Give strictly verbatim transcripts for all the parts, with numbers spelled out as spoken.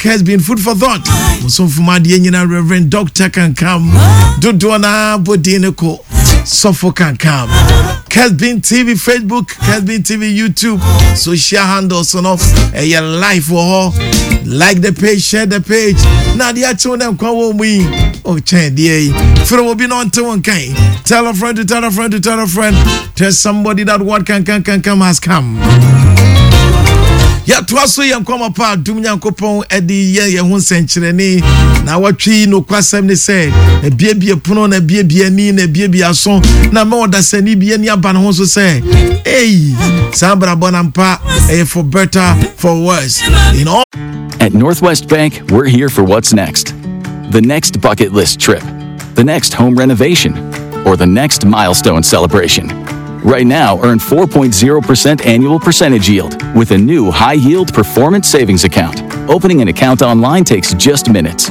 Kesbin Food for Thought. Musomfo adeɛ nyina, Reverend Doctor Kankam. Dodoɔ na bɔdin ne ko Sɔfo Kankam. Kesbin T V Facebook, Kesbin T V YouTube, social handles no ɛyɛ live wɔ hɔ. Like the page, share the page. Na adeɛ akyew na nkwa wɔ mu yi. Oh, kyɛn deɛ yi. Frɛ obi na ɔnte wɔn kan. Tell a friend to tell a friend to tell a friend. Tell somebody that what can can can come has come. Yɛtoa so yɛ nkɔmmɔ pa adom Nyankopɔn de yɛ yɛn ho nsɛnkyerɛnne na wɔtwe nokwasɛm ne sɛ abiebie pono na abiebie ani na abiebie aso na ma ɔdasani bi ani aba ne ho so sɛ ei, saa brabɔ na mpa ɛyɛ for better, for worse in all. At Northwest Bank, we're here for what's next. The next bucket list trip, the next home renovation, or the next milestone celebration. Right now, earn four point zero percent annual percentage yield with a new high yield performance savings account. Opening an account online takes just minutes.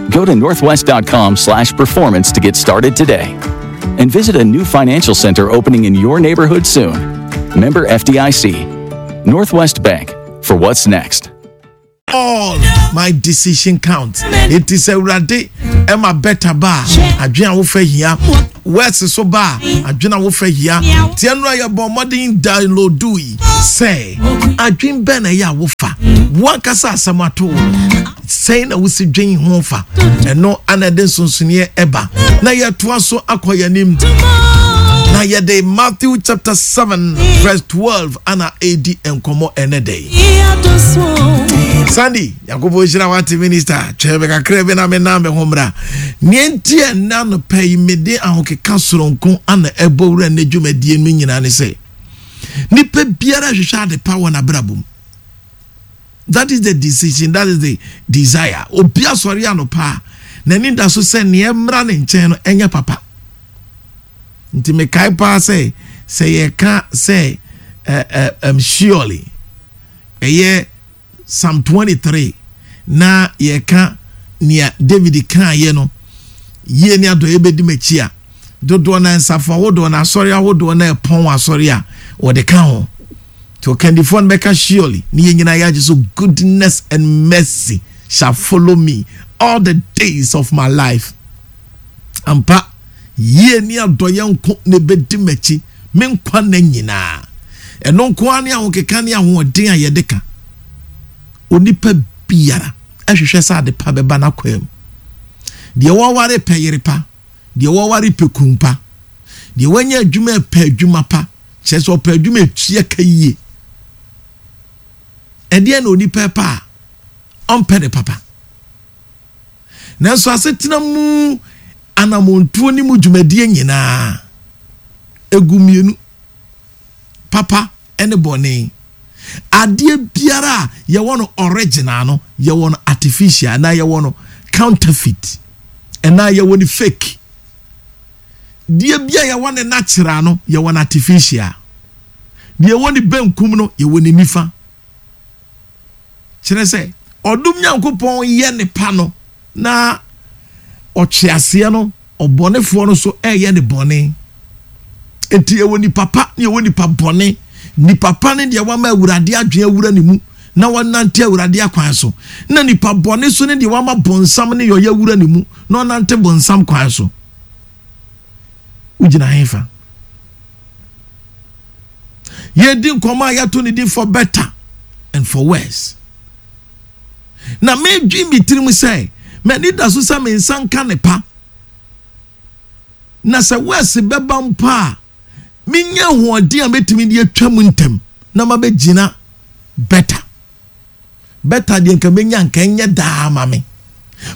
Go to northwest dot com slash performance to get started today. And visit a new financial center opening in your neighborhood soon. Member F D I C. Northwest Bank, for what's next. All my decision counts. It is Awurade ɛma better ba a, adwene a wofa hia, worse so ba a, adwene a wofa hia. Tiɛ no a yɛbɔ mmɔden download yi sɛ adwene bɛn na ɛyɛ a wofa wankasa asɛm ato wo sɛn na wosi dwen ho fa, ɛno ana ɛde nsonsoneɛ ɛba. Na yɛtoa so akɔ yɛn anim na yɛde Matthew chapter seven verse twelve ana ɛdi nkɔmmɔ ɛnɛ dɛ yi. Sandy, Nyankopɔn hyira wate. Minister, twɛn me kakra bi na menam me ho mmra. Neɛ nti ɛnna nopɛ yi mede ahokeka soronko ana ɛbɔ wura ne dwumadie no nyinaa ne sɛ nipa biara hwehwɛ ade pa wɔ n'abrabɔ mu. That is the decision, that is the desire. Obi asɔre anɔpa a, n'ani da so sɛ neɛ mmra ne nkyɛn no ɛnyɛ papa. Nti mekae paa sɛ sɛ yɛka sɛ ɛ ɛ um, surely ɛyɛ Psalm twenty-three na yɛka nea David kaayɛ no, yie ne adɔeɛ bɛdi m'akyi a, dodoɔ na nsafo ahodoɔ na asɔre ahodoɔ na ɛpɔn asɔre a wɔde ka ho nti ɔkandifoɔ no bɛka surely ne yɛn nyinaa yɛagye so, "Goodness and mercy shall follow me all the days of my life." Ampa, yie ne adɔeɛ nko na ɛbɛdi m'akyi me nkwa nna nyinaa. Ɛno nko ara ne ahokeka ne ahoɔden a yɛde ka. Onipa biara ɛhwehwɛ sɛ ade pa bɛba n'akwan mu. Deɛ wɔware pɛ yere pa, deɛ wɔware pɛ kun pa, deɛ wɔanya adwuma pɛ adwuma pa, kyerɛ sɛ ɔpɛ adwuma etua ka yie. Ɛdeɛ na onipa pa a ɔmpɛ ne papa, nanso asetena mu anamontuo ne mu dwumadie nyinaa egu mmienu, papa ne bɔne. Adeɛ biara a yɛwɔ no original no, yɛwɔ no artificial anaa yɛwɔ no counterfeit ɛnaa yɛwɔ no fake. Deɛ bia yɛwɔ ne natural no, yɛwɔ no artificial. Deɛ yɛwɔ ne benkum no, yɛwɔ ne nifa. Kyerɛ sɛ ɔdom Nyankopɔn yɛ ne pa no na ɔtwe aseɛ no, ɔbɔnefoɔ no so ɛyɛ ne bɔne. Nti yɛwɔ nipa pa ne yɛwɔ nipa bɔne. Nipa pa ne deɛ wama Awurade adwene awura ne mu na wɔnante Awurade akwan so, na nipa bɔne so ne deɛ wama bɔnsam ne yɔyɛ awura ne mu na ɔnante bɔnsam kwan so. Wogyina hefa? Yɛdi nkɔmɔ a yɛato ne din "For Better and for Worse". Na medwi mi tirim sɛ m'ani da so sɛ me nsa nka ne pa, na sɛ worse bɛba mpo a, menya ahoɔden a mɛtumi de atwa mu ntɛm na mabɛgyina better. Better deɛ nka menya nka ɛnyɛ daa ma me.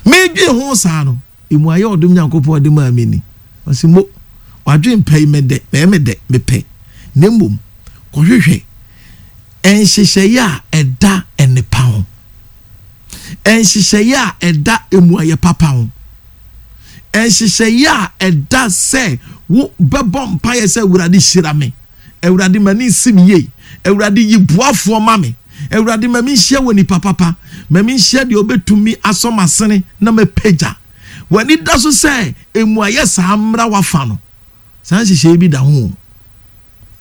Medwi ho saa no, emu ayɛ ɔdom Nyankopɔn de maa me ni. Ɔsi mo wadwe mpɛ yi mɛdɛ mɛyɛ mɛdɛ mepɛ, na mmom kɔhwehwɛ nhyehyɛeɛ a ɛda nnepa ho, nhyehyɛeɛ a ɛda emu ayɛ papa ho, nhyehyɛeɛ a ɛda sɛ wo bɛbɔ mpaeɛ sɛ, "Awurade, hyira me. Awurade, ma ne nsi me yie. Awurade, yi boafoɔ ma me. Awurade, ma me nhyia wɔ nipa papa, ma me nhyia deɛ ɔbɛtumi asɔ m'asene na mɛpagya." W'ani da so sɛ emu ayɛ saa mmra wafa no. Saa nhyehyɛeɛ bi da ho.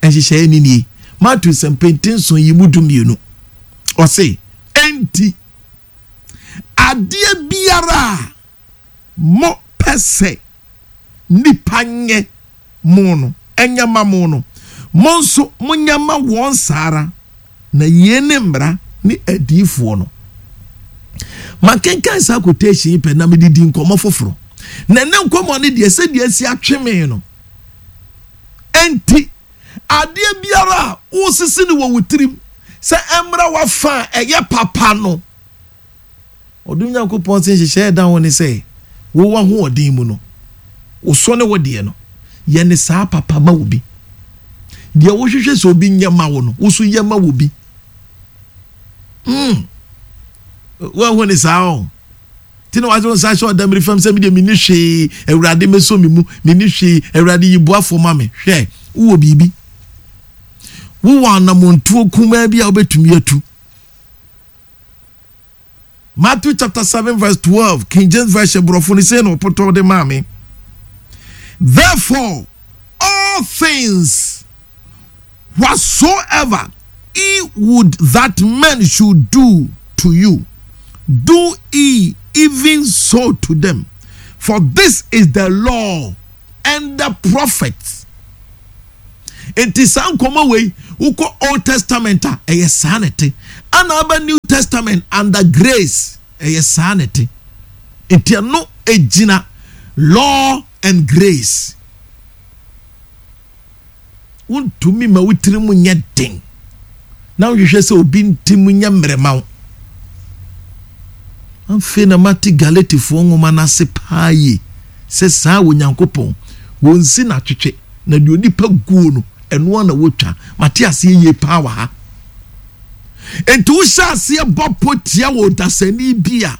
Nhyehyɛeɛ ni nie: Matthew sɛmpɛnti nson yi mu du mmienu, ɔse, "Enti Adeɛ biara a mo pɛ sɛ nipa nyɛ mo no, ɛnyɛ ma mo no, mo nso monyɛ ma wɔn saa ara, na yei ne mmara ne adiyifoɔ no. Makenkan saa quotation yi pɛ na mede di nkɔmmɔ foforɔ. Na ɛnɛ nkɔmmɔ no deɛ, sɛdeɛ asi atwe me no, enti adeɛ biara a wosisi no wɔ wo tirim sɛ ɛmmra wafa a ɛyɛ papa no, ɔdom Nyankopɔn sɛ nhyehyɛeɛ da ho ne sɛ wowɔ ahoɔden mu no, wosɔ ne wo deɛ no, yɛ ne saa papa ma wo bi. Deɛ wohwehwɛ sɛ obi nyɛ ma wo no, wo so yɛ ma wo bi. mm. Woahu ne saa o nti na wagye wo nsa hyɛ ɔdamiri fam sɛ medeɛ menni hwee, Awurade mɛsɔ me mu, menni hwee, Awurade yi boafoɔ ma me. Hwɛ, wowɔ biribi, wowɔ anammɔntuo kumaa bi a wobɛtumi atu. Matthew chapter seven verse twelve, King James Version, borɔfo no sei na ɔpotɔ de maa me: "Therefore all things whatsoever ye would that men should do to you, do ye even so to them, for this is the law and the prophets." Nti saa nkɔmɔ wei, wokɔ Old Testament a, ɛyɛ saa na ɛte, ana aba New Testament under grace, ɛyɛ saa na ɛte. Nti ɛno egyina law and grace. Wontumi ma wotiri mu nyɛ den na wohwehwɛ sɛ obi nti mu nyɛ mmerɛma wo. Afei na mate Galatifoɔ nwoma no ase paa yie sɛ saa wɔ Nyankopɔn wɔnsi n'atwetwe na deɛ onipa guo no, ɛnoa na wɔtwa. Mate aseɛ yie paa wɔ ha. Nti wohyɛ aseɛ bɔ pɔ tia wɔ dasani bi a,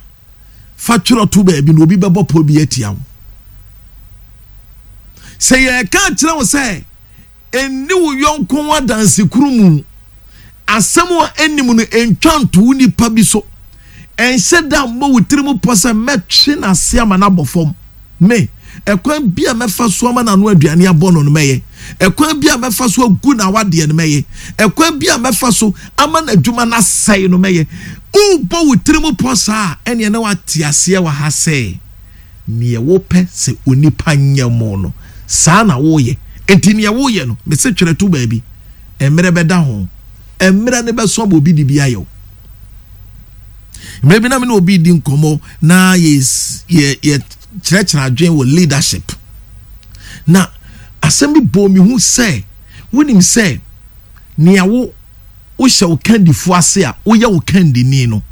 fa twerɛ to baabi na obi bɛbɔ pɔ bi atia wo. Sɛ yɛreka kyerɛ wo sɛ ɛnni wo yɔnko ho adansekuru mu, asɛm a ɛnim no ɛntwa nto wo nipa bi so, ɛnhyɛ da mmɔ wo tiri mu pɔ sɛ mɛtwe n'ase ama no abɔ fam. Me ɛkwan bi a mɛfa so ama n'ano aduane abɔ no no mɛyɛ, ɛkwan bi a mɛfa so agu n'awadeɛ no mɛyɛ, ɛkwan bi a mɛfa so ama n'adwuma n'asɛe no mɛyɛ. Wobɔ wo tiri mu pɔ saa, ɛneɛ na wate aseɛ wɔ ha sɛ neɛ wopɛ sɛ onipa nyɛ mo no, saa na woyɛ. Nti neɛ woyɛ no, mese twerɛ to baabi, mmerɛ bɛda ho, mmerɛ no bɛso ama obi de bi ayɛ wo. Mmerɛ bi na me ne obi di nkɔmmɔ na yɛ yɛ yɛ kyerɛkyerɛ adwene wɔ leadership, na asɛm bi bɔ mi hu sɛ wonim sɛ nea wo wohyɛ wo kandifo ase a, woyɛ wo kandini no,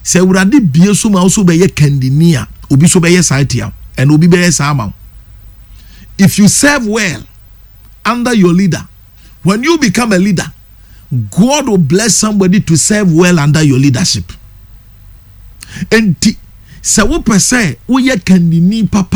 sɛ Awurade bie so ma wo so bɛyɛ kandini a, obi so bɛyɛ saa tia, ɛna obi bɛyɛ saa ama wo. If you serve well under your leader, when you become a leader, God will bless somebody to serve well under your leadership. Enti sɛ wopɛ sɛ woyɛ kandini papa